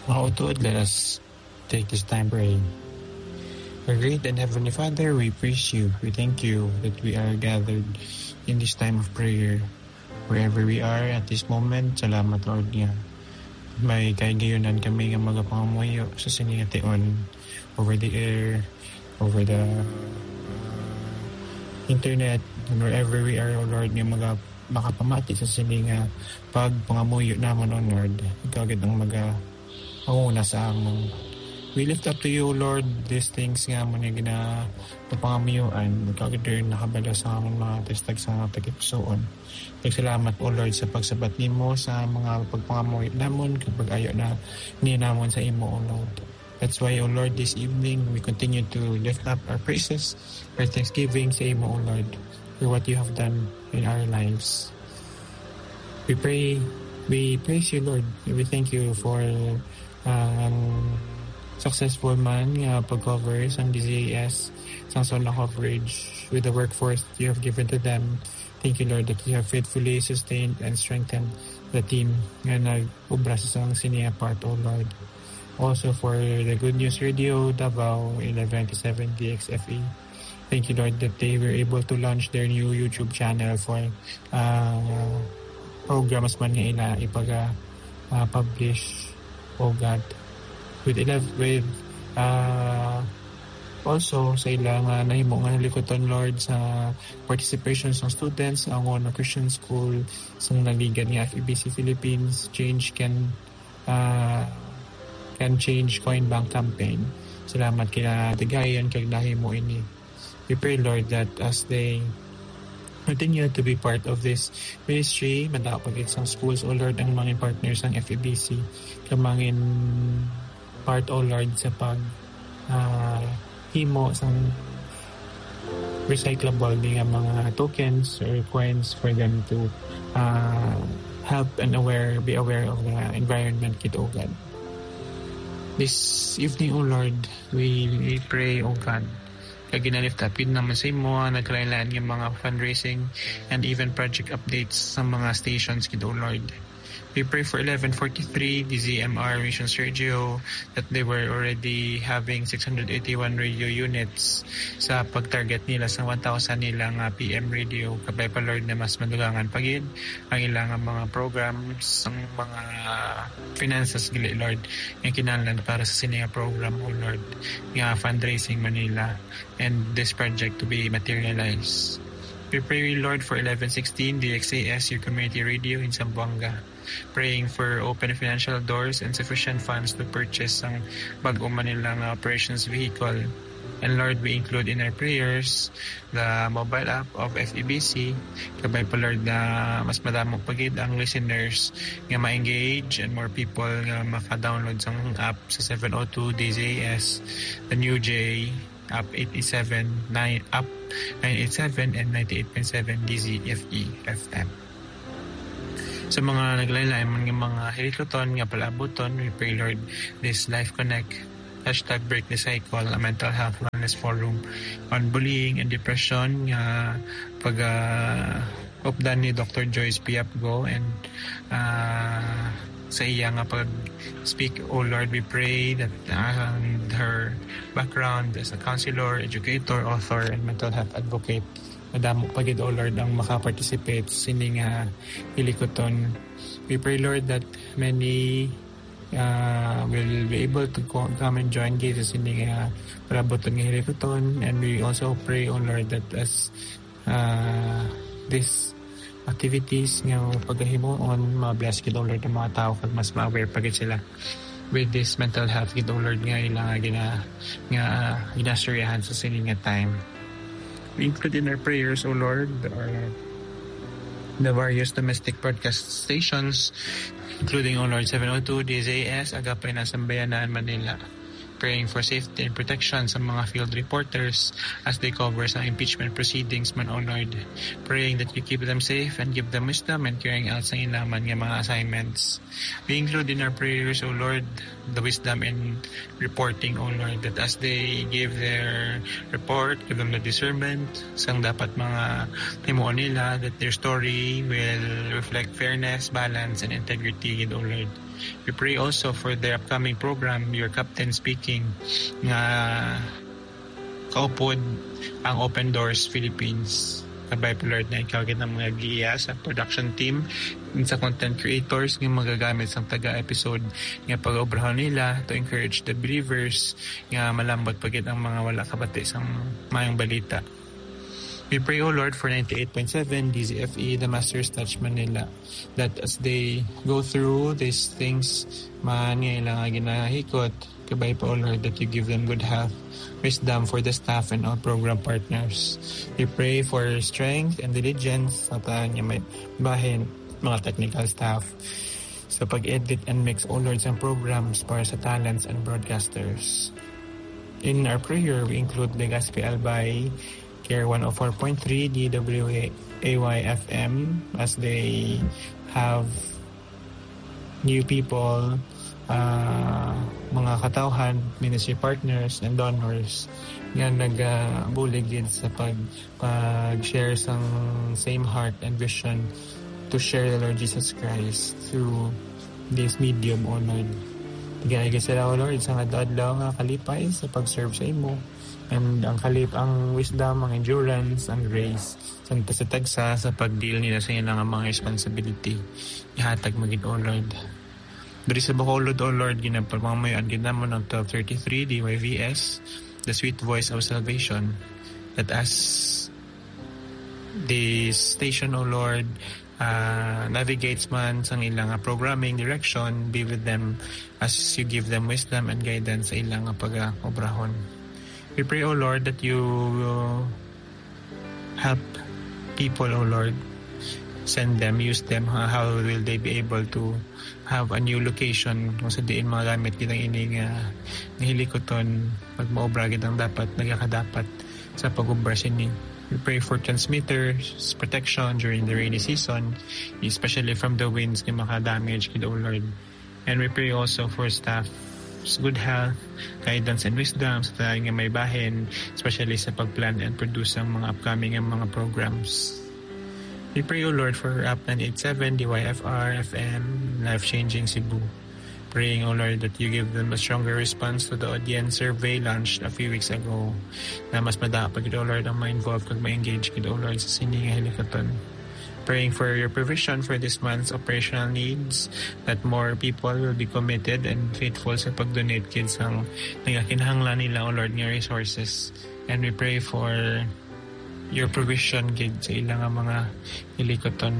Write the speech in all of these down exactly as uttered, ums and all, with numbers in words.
Mga utod, let us take this time praying. Our great and Heavenly Father, we praise you. We thank you that we are gathered in this time of prayer. Wherever we are at this moment, salamat, Lord, nga may kahigayonan kami nga magapangamuyo sa sini nga tion, over the air, over the, uh, internet, and wherever we are, O Lord, nga maga-, makapamati sa sini nga pagpangamuyo namon, O Lord. Ikaw gid ang maga-, manguna sa amon. We lift up to you, O Lord, these things nga amon nga gina-, napangamuyuan. Ikaw gid ang nakabalo sa amon mga testag sa mga tagipusoon. Nagsalamat, O Lord, sa pagsabat nimo sa mga pagpangamuyo namon kag pag-ayo na ni namon sa imo, O Lord. That's why, O Lord, this evening we continue to lift up our praises, our thanksgiving sa imo, O Lord, for what you have done in our lives. We pray, we praise you, Lord. We thank you for ang successful man nga pag-cover sang D Z A S, sang zona coverage with the workforce that you have given to them. Thank you, Lord, that you have faithfully sustained and strengthened the team nga nag-obra sa sang sini nga part, O Lord. Also for the Good News Radio Davao eleven twenty-seven D X F E. Thank you, Lord, that they were able to launch their new YouTube channel for, uh, programs man nga ila ipaga, uh, publish, O God. With eleven, with, uh, also sa ila nga nahimo nga hilikuton, Lord, sa participation sa students sa Angono Christian School, sa naligad nga F E B C Philippines, Change Can, uh, Can Change Coin Bank Campaign. Salamat kila Tigayon kag nahimo ini. We pray, Lord, that as they continue to be part of this ministry, madako pa gid sang schools, O Lord, ang mga partners sang F E B C, kag mga part, O Lord, sa pag, ah, himo sang recyclable nga mga tokens or coins for them to, ah, help and aware, be aware of the environment gid, O God. This evening, O Lord, we, we pray, O God, kag ginalift up gid naman sa imo ang nagkalain-lain nga mga fundraising and even project updates sa mga stations gid, O Lord. We pray for eleven forty-three, D Z M R Mission Sergio, that they were already having six hundred eighty-one radio units sa pag-target nila sa one thousand nila nga P M radio. Kabay pa, Lord, na mas madugangan pa gid ang ilang mga programs, ang mga finances gali, Lord, nga kinahanglan para sa sini nga program, O Lord, nga fundraising man nila, and this project to be materialized. We pray, Lord, for eleven sixteen D X A S, your community radio in Zamboanga, praying for open financial doors and sufficient funds to purchase ang bag-o man nila nga operations vehicle. And Lord, we include in our prayers the mobile app of F E B C. Kabay pa, Lord, na mas madamo pa gid ang listeners nga ma-engage and more people nga maka-download sang app sa seven oh two D Z S, the new J, app eight eight seven, nine, app nine eight seven and ninety-eight point seven D Z F E F M. Sa mga naglain-lain man nga mga hilikuton nga palaabuton, we pray, Lord, this Life Connect, hashtag Break the Cycle, a mental health wellness forum on bullying and depression nga pag, ah, updan ni Doctor Joyce Piapgo, and, ah, sa iya nga pag-speak, O Lord, we pray that, ah, her background as a counselor, educator, author, and mental health advocate, madamo pa gid, O Lord, ang maka-participate sa sini nga hilikuton. We pray, Lord, that many, uh, will be able to co-, come and join gid sa sini nga palaabuton nga hilikuton. And we also pray, O Lord, that as, uh, these activities nga pagahimuon, ma-bless gid, O Lord, ang mga tao kag mas ma-aware pa gid sila with this mental health gid, O Lord, nga ila nga gina-, nga ginastoryahan sa sini nga time. We include in our prayers, O Lord, our, the various domestic broadcast stations, including, O Lord, seven oh two D Z S, Agape na Sambayanan, Manila. Praying for safety and protection sa mga field reporters as they cover sa impeachment proceedings man, O Lord. Praying that you keep them safe and give them wisdom and carrying out sa ilang man nga mga assignments. We include in our prayers, O Lord, the wisdom in reporting, O Lord, that as they give their report, give them the discernment sang dapat mga himuon nila, that their story will reflect fairness, balance, and integrity gid, O Lord. We pray also for their upcoming program, Your Captain Speaking, nga kaupod ang Open Doors Philippines. Kabay po, Lord, na ikaw gid ang mga giya sa production team, sa content creators nga magagamit sang taga episode nga pag-obrahon nila to encourage the believers nga malambot pa gid ang mga wala kabati sang mayong balita. We pray, O Lord, for ninety-eight point seven D Z F E, the Master's Touch Manila, that as they go through these things man nga ilang nga ginahikot, kabay pa, O Lord, that you give them good health, wisdom for the staff and all program partners. We pray for strength and diligence sa tanan nga may bahin, mga technical staff, sa pag-edit and mix, O Lord, sa programs para sa talents and broadcasters. In our prayer, we include the Gospel by Care one oh four point three D W A Y F M as they have new people, uh, mga katawhan, ministry partners, and donors nga nagabulig gid sa pag, pag-share sang same heart and vision to share the Lord Jesus Christ through this medium, O Lord. Tigayagi sila, O Lord, sa adlaw-adlaw nga kalipay sa pag-serve sa imo. And ang kalip, ang wisdom, ang endurance, ang grace, sa tagsa-tagsa sa pag-deal nila sa ilang mga responsibility. Ihatag mo gid, O Lord. Diri sa Bacolod, O Lord, ginapamamuyan gid namon ang twelve thirty-three D Y V S, the sweet voice of salvation, that as this station, O Lord, uh, navigates man sang ilang programming direction, be with them as you give them wisdom and guidance sa ilang pag-obrahon. We pray, O Lord, that you help people, O Lord. Send them, use them. Uh, how will they be able to have a new location kung sa diin magamit gid ang ini nga nahilikuton, magmaobra gid ang dapat, nagakadapat sa pag-obra sini. We pray for transmitters, protection during the rainy season, especially from the winds nga makadamage gid, O Lord. And we pray also for staff's good health, guidance, and wisdom sa tanan nga may bahin, especially sa pag-plan and produce ang mga upcoming nga mga programs. We pray, O Lord, for App nine eight seven, D Y F R, F M, Life Changing Cebu. Praying, O Lord, that you give them a stronger response to the audience survey launched a few weeks ago, na mas madala pa gid, O Lord, ang ma-involve kag ma-engage gid, O Lord, sa sini nga hilikuton. Praying for your provision for this month's operational needs, that more people will be committed and faithful sa pag-donate gid sang nagakinahanglan nila, O Lord, nga resources. And we pray for your provision gid sa ila nga mga hilikuton.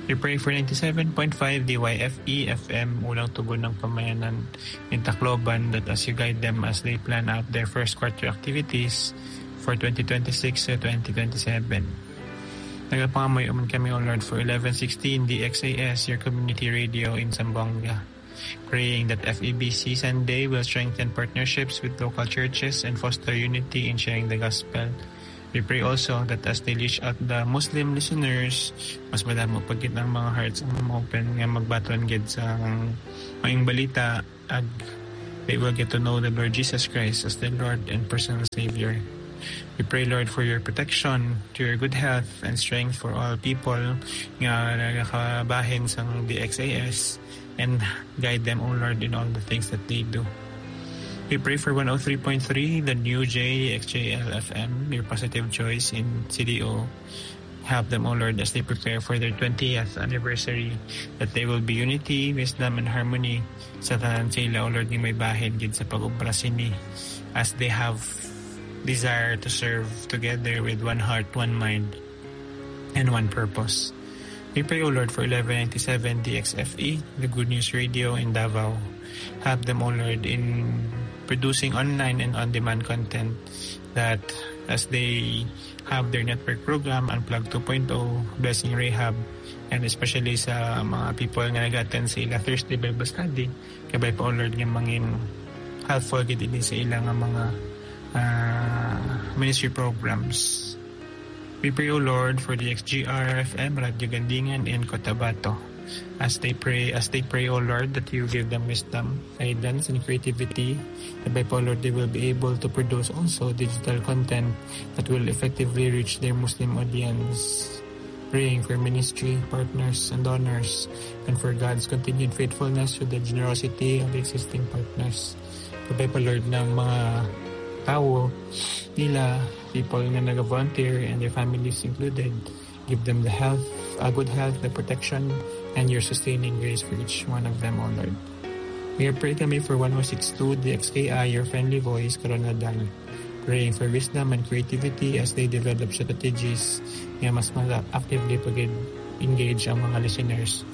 We pray for ninety-seven point five D Y F E F M, Unang Tugon ng Pamayanan in Tacloban, that as you guide them as they plan out their first quarter activities for twenty twenty-six to twenty twenty-seven. Nagapangamuyo man kami, O Lord, for eleven sixteen D X A S, your community radio in Zamboanga. Praying that F E B C Sunday will strengthen partnerships with local churches and foster unity in sharing the gospel. We pray also that as they reach out the Muslim listeners, mas madamo pa gid ang mga hearts ang ma-open nga magbaton gid sa ang maayong balita, ag they will get to know the Lord Jesus Christ as their Lord and personal Savior. We pray, Lord, for your protection, to your good health and strength for all people nga nagakabahin sang D X A S, and guide them, O Lord, in all the things that they do. We pray for one oh three point three, the new J X J L F M, your positive choice in C D O. Help them, O Lord, as they prepare for their twentieth anniversary, that they will be unity, wisdom, and harmony sa tanan sila, O Lord, nga may bahin gid sa pag-obra sini, as they have desire to serve together with one heart, one mind, and one purpose. We pray, O Lord, for eleven ninety-seven D X F E, the Good News Radio in Davao. Help them, O Lord, in producing online and on-demand content, that as they have their network program, Unplug two point oh, Blessing Rehab, and especially sa mga people nga nag-attend sa ila Thursday Bible Study, kabay pa, O Lord, nga mangin helpful gid ini sa ila nga mga, ah, ministry programs. We pray, O Lord, for the X G R F M, Radyo Gandingan, and Cotabato. As they pray, as they pray, O Lord, that you give them wisdom, guidance, and creativity. That by, O Lord, they will be able to produce also digital content that will effectively reach their Muslim audience. praying for ministry partners and donors, and for God's continued faithfulness to the generosity of existing partners. Kabay pa, Lord, ng mga tao nila, people nga nag-volunteer and their families included. Give them the health, a good health, the protection, and your sustaining grace for each one of them, O Lord. We are praying kami for one oh six two D X K I, your friendly voice, Karon Nadal. Praying for wisdom and creativity as they develop strategies nga mas mala-, actively pag-engage ang mga listeners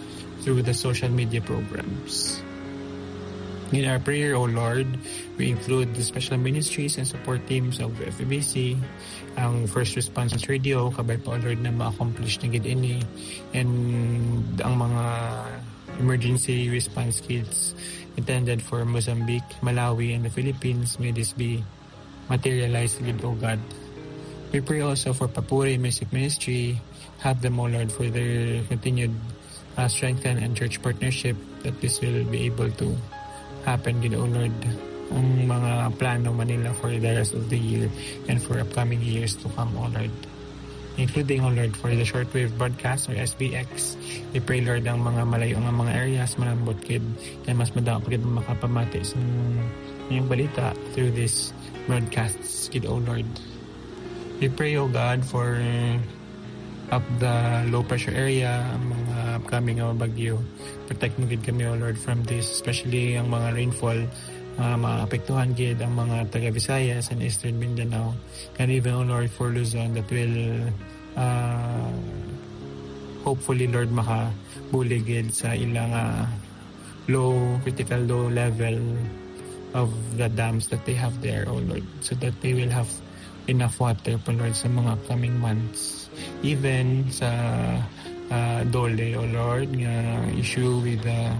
through the social media programs. In our prayer, O Lord, we include the special ministries and support teams of F E B C, ang first response radio, kabay pa, O Lord, na ma-accomplish na gid ini, and ang mga emergency response kits intended for Mozambique, Malawi, and the Philippines, may this be materialized gid, O God. We pray also for Papuri Music Ministry. Have them, O Lord, for their continued, uh, strengthen and church partnership, that this will be able to happen gid, O Lord. Ang mga plano man nila for the rest of the year and for upcoming years to come, O Lord. Including, O Lord, for the shortwave broadcast or S B X. We pray, Lord, ang mga malayo nga mga areas, malambot gid, kay mas madamo pa gid makapamati sa iyang balita through this broadcasts gid, O Lord. We pray, O God, for up the low pressure area, ang mga upcoming nga bagyo. Protect mo gid kami, O Lord, from this, especially ang mga rainfall, uh, maapektuhan gid ang mga taga Visayas and Eastern Mindanao, and even, O Lord, for Luzon, that will, uh, hopefully, Lord, makabulig gid sa ilang, uh, low, critical low level of the dams that they have there, O Lord, so that they will have enough water pa, Lord, sa mga upcoming months. Even sa, ah, DOLE, O Lord, nga issue with the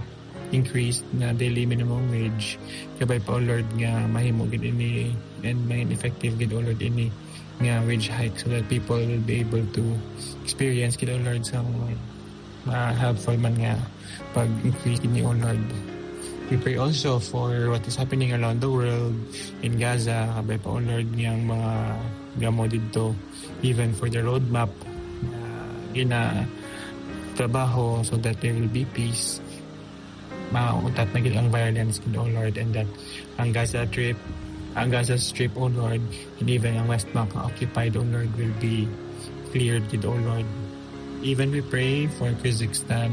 increased na daily minimum wage, kabay pa, O Lord, nga mahimo gid ini and may effective gid, O Lord, ini nga wage hike, so that people will be able to experience gid, O Lord, sa mga helpful man nga pag-increase ini, O Lord. We pray also for what is happening around the world, in Gaza, kabay pa, O Lord, nga ang mga gamo didto, even for the roadmap, uh, gina trabaho so that there will be peace. Mautat na gid ang violence gid, O Lord, and that ang Gaza Strip, ang Gaza Strip, O Lord, and even ang West Bank nga occupied, O Lord, will be cleared gid, O Lord. Even we pray for Kazakhstan,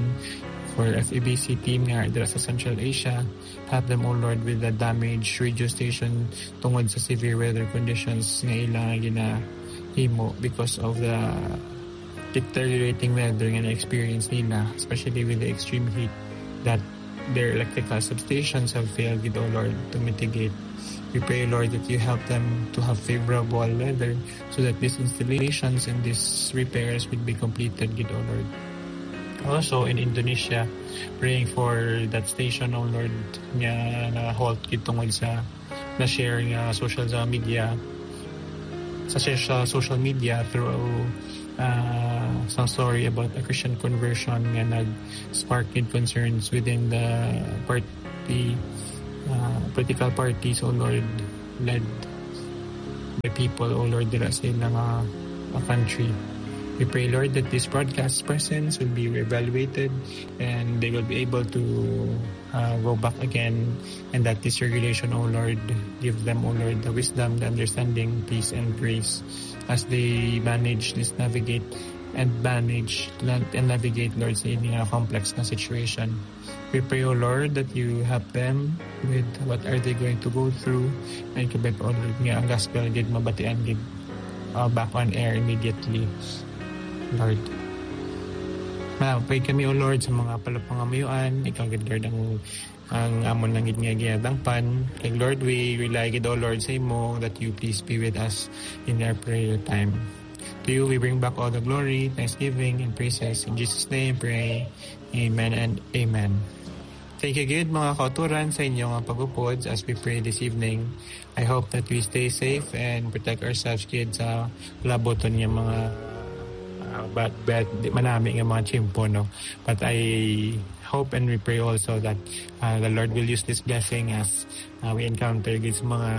for F E B C team nga dira sa Central Asia, help them, O Lord, with the damage, radio station, tungod sa severe weather conditions nga ila nga ginahimo because of the deteriorating weather nga na-experience nila, especially with the extreme heat, that their electrical substations have failed gid, O Lord, to mitigate. We pray, Lord, that you help them to have favorable weather so that these installations and these repairs will be completed gid, O Lord. Also in Indonesia, praying for that station, O Lord, nga na-halt gid tungod sa na-share nga social sa media, sa, sa social media through, uh, some story about a Christian conversion nga nag-spark gid concerns within the party, uh, political parties, O Lord, led by people, O Lord, dira sa ila nga, uh, country. We pray, Lord, that this broadcast presence will be reevaluated and they will be able to, uh, go back again, and that this regulation, O Lord, give them, O Lord, the wisdom, the understanding, peace, and grace as they manage this, navigate, and manage, and navigate, Lord, sa ini nga complex na situation. We pray, O Lord, that you help them with what are they going to go through, and kabay pa, O Lord, nga ang gospel gid mabatian gid, uh, back on air immediately, Lord. Malapit kami, O Lord, sa mga palapangamuyoan. Ikaw gid, Lord, ang, ang amon lang gid nga ginadangpan. Kay, Lord, we rely gid, O Lord, sa imo, that you please be with us in our prayer time. To you we bring back all the glory, thanksgiving, and praises. In Jesus' name pray. Amen and amen. Thank you gid, mga kauturan, sa inyo nga pag-upod as we pray this evening. I hope that we stay safe and protect ourselves gid sa labuton nga mga, Uh, but, but di manami nga mga tiyempo, no? But I hope and we pray also that, uh, the Lord will use this blessing as, uh, we encounter gid sa mga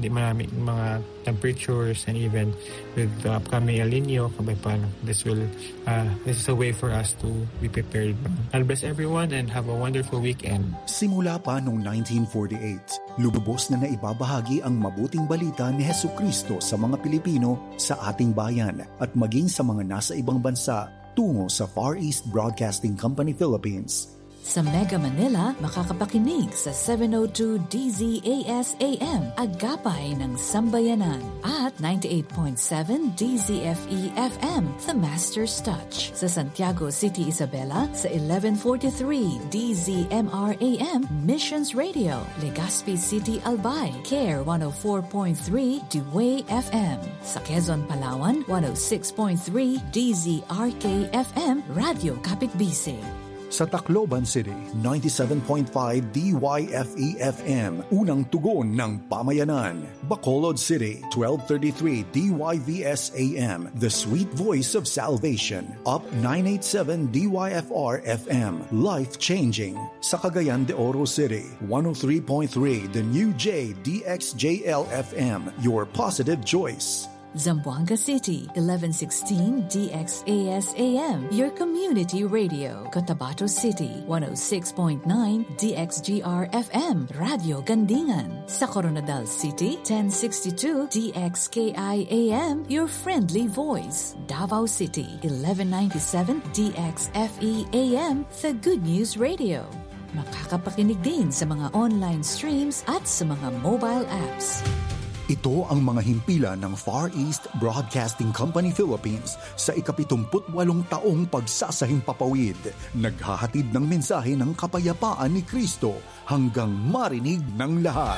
di manami mga temperatures, and even with the upcoming El Nino, kabay pa, no? This will, uh, this is a way for us to be prepared. God bless everyone and have a wonderful weekend. Simula pa noong nineteen forty-eight, lubos na naibabahagi ang mabuting balita ni Jesucristo sa mga Pilipino, sa ating bayan, at maging sa mga nasa ibang bansa tungo sa Far East Broadcasting Company Philippines. Sa Mega Manila, makakapakinig sa seven oh two D Z A S A M, Agapay ng Sambayanan, at ninety-eight point seven D Z F E F M, The Master's Touch. Sa Santiago City, Isabela, sa eleven forty-three D Z M R A M, Missions Radio. Legazpi City, Albay, Care one oh four point three, Dway F M. Sa Quezon, Palawan, one oh six point three D Z R K F M, Radyo Kapitbisig. Sa Tacloban City, ninety-seven point five D Y F E F M, unang tugon ng pamayanan. Bacolod City, twelve thirty-three D Y V S A M, the sweet voice of salvation. Up nine eighty-seven D Y F R F M, life-changing. Sa Cagayan de Oro City, one oh three point three the new J D X J L F M, your positive choice. Zamboanga City, eleven sixteen D X A S A M, your community radio. Cotabato City, one oh six point nine D X G R F M, Radyo Gandingan. Sa Koronadal City, ten sixty-two D X K I A M, your friendly voice. Davao City, eleven ninety-seven D X F E A M, the Good News Radio. Makakapakinig din sa mga online streams at sa mga mobile apps. Ito ang mga himpilan ng Far East Broadcasting Company Philippines sa ikapitumput walong taong pagsasahimpapawid. Naghahatid ng mensahe ng kapayapaan ni Kristo hanggang marinig ng lahat.